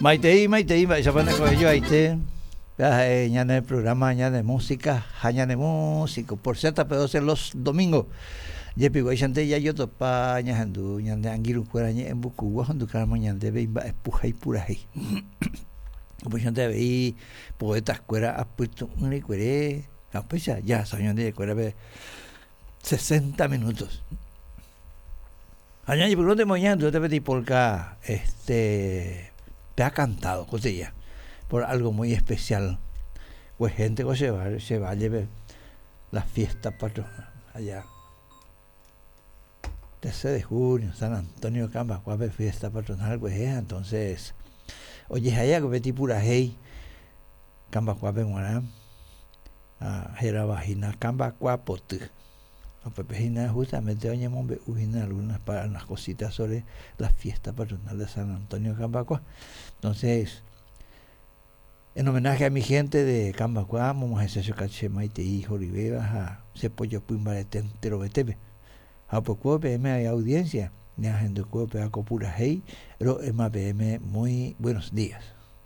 Maitei, maitei, mba'éichapa ne ko'ẽjoaite. Péva ha'e ñane programa ñane música ha ñane músico por ZP12 los domingos. Jepiguáichante jajotopa ñahendu ñande angirũkuéra ñe'ẽmbukugua ohendukáramo ñandéve imba'epu ha ipurahéi. Upéichante avei poetas-kuéra apytu'ũ rekuere ha upéicha jahasa ñandekuérape 60 minutos. Ha ñañepyrũnte moñandúta peteĩ polka este te ha cantado kotilla por algo muy especial. Pues gente ko che barrio, che valle-pe la fiesta patronal allá 13 de junio, San Antonio Cambacuápe fiesta patronal kuehe, entonces ojehai ko peteĩ purahéi Cambacuápe g̃uarã ha hérava hína Kambakua Poty. Upépe hína justamente oñemombe'u hína algunas para unas cositas sobre la fiesta patronal de San Antonio Kambakua. Entonces, en homenaje a mi gente de Kambakua, amog̃uahẽse che che maitei horyvéva ha che pojopy mbarete enterovetépe. Ha upekuévo peẽme avei audiencia, ñahendukuévo péva ko purahéi ro'éma peẽme muy buenos días.